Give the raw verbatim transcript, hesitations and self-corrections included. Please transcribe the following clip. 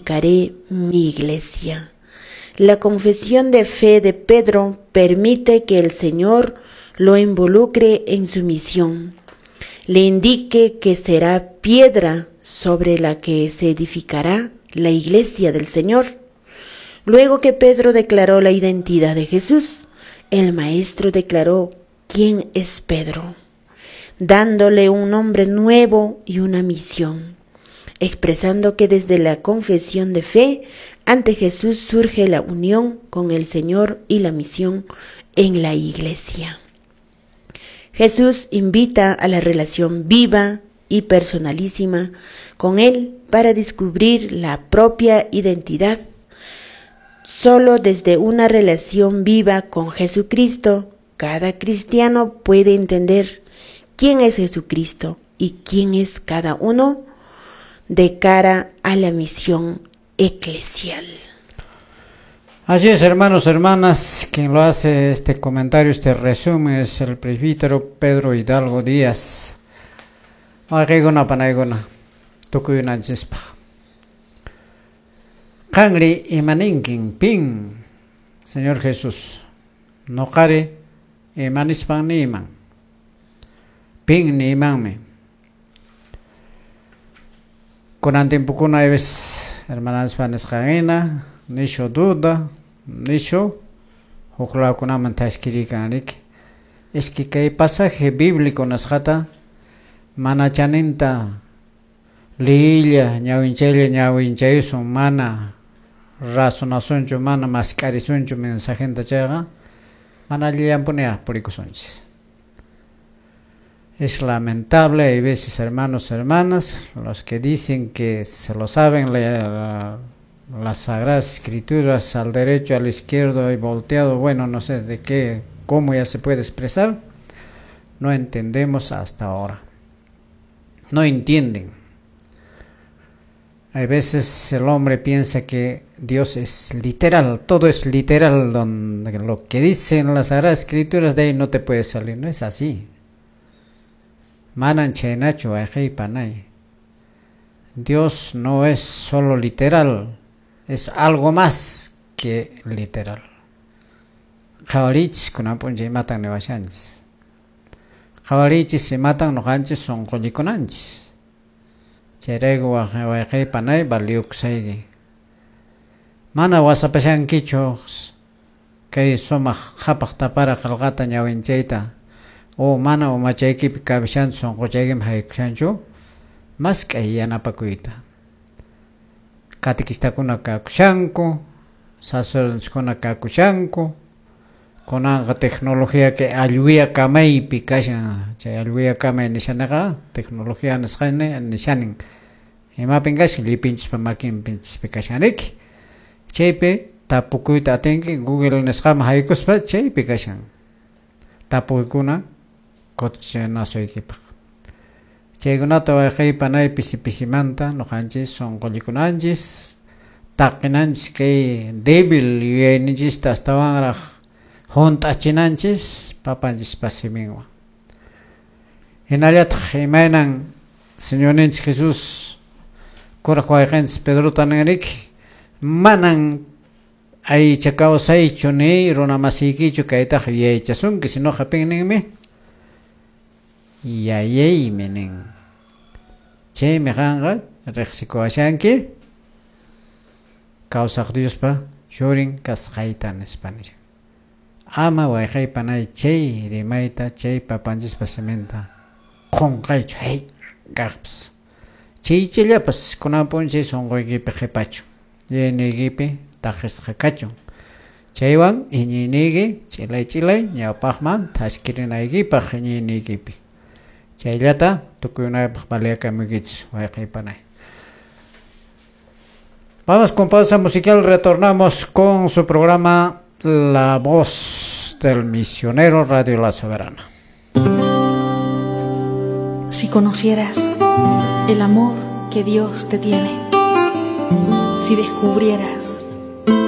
edificaré mi iglesia. La confesión de fe de Pedro permite que el Señor lo involucre en su misión, le indique que será piedra sobre la que se edificará la iglesia del Señor. Luego que Pedro declaró la identidad de Jesús, el Maestro declaró quién es Pedro, dándole un nombre nuevo y una misión, expresando que desde la confesión de fe ante Jesús surge la unión con el Señor y la misión en la iglesia. Jesús invita a la relación viva y personalísima con Él para descubrir la propia identidad. Solo desde una relación viva con Jesucristo, cada cristiano puede entender quién es Jesucristo y quién es cada uno de cara a la misión eclesial. Así es, hermanos, hermanas, quien lo hace este comentario, este resumen es el presbítero Pedro Hidalgo Díaz. Wawqiykuna panaykuna tukuyunanchispaq. Qanri imaninkin pin, Señor Jesús, noqari imanispan niyman, pin niymanmi. Kunan tiempokuna aybes hermanaspa nisqanhina nishu duda, nishu huk lawkunaman tashkirikan riki. Es que kay pasaje bíblico nisqata mana chaninta liyilla ñawinchaylla ñawinchayusun mana razonasunchu mana mask'arisunchu mensajenta chayqa mana allillanpuniya purikusunchis. Es lamentable, hay veces hermanos, hermanas, los que dicen que se lo saben la, las Sagradas Escrituras al derecho, al izquierdo y volteado, bueno, no sé de qué, cómo ya se puede expresar, no entendemos hasta ahora. No entienden. Hay veces el hombre piensa que Dios es literal, todo es literal, donde lo que dicen las Sagradas Escrituras de ahí no te puede salir, no es así. Manan chaynachu wayqey panay. Dios no es solo literal, es algo más que literal. Qhawariychis kunan p'unchay imatan niwashanchis. Qhawariychis imatan ñuqanchis sunqullikunanchis. Chayrayku wayqey panay valiyukusayki. Mana wasapashankichu kay sumaq qhapaq tapara qillqata ñawinchayta o mana umachaykipi kabishanchu sunquchaykiman haykushanchu mask'ay yanapakuyta. Catequistakuna kakushanku, sacerdotekuna kakushanku, kunanqa tecnología kay allwiya kamaypi kashan, chay allwiya kamay nishanaqa tecnología nisqani nishanin. Imapin kashan llipinchispa makinpinchispi kashan riki. Chaypi tapukuyta atinki Google nisqaman haykuspa chaypi kashan. Tapuykuna kutichinasuykipaq. Chaykunata wayqey panay pisi pisimanta ñuqanchis sunqullikunanchis taqinanchis kay débil yuyayninchista astawanraq hunt'achinanchis papanchispa siminwan. Hinallataq imaynan Señorninchis Jesús kuraq wayqinchis Pedrota ninriki manan aycha kawsaychu ni runa masiykichu kaytaqa yuyaychasunki sinoqa pin ninmi yayaymi nin. Chaymi qanqa riqsikuwashanki kawsaq Diospa churin kasqayta nispa nishan. Ama wayqey panay chay rimayta chay papanchispa siminta qunqaychu hay kaqpas. Chaychallapas kunan p'unchay sunquykipi qhipachu yuyayniykipi taqisqa kachun. Chaywan iñiyniyki ch'ilay ch'ilay ñawpaqman thaskirinaykipaq iñiyniykipi. Chayllata tukuyunaypaq valiyakamuykichis wayqey panay. Vamos con pausa musical, retornamos con su programa La Voz del Misionero, Radio La Soberana. Si conocieras el amor que Dios te tiene, si descubrieras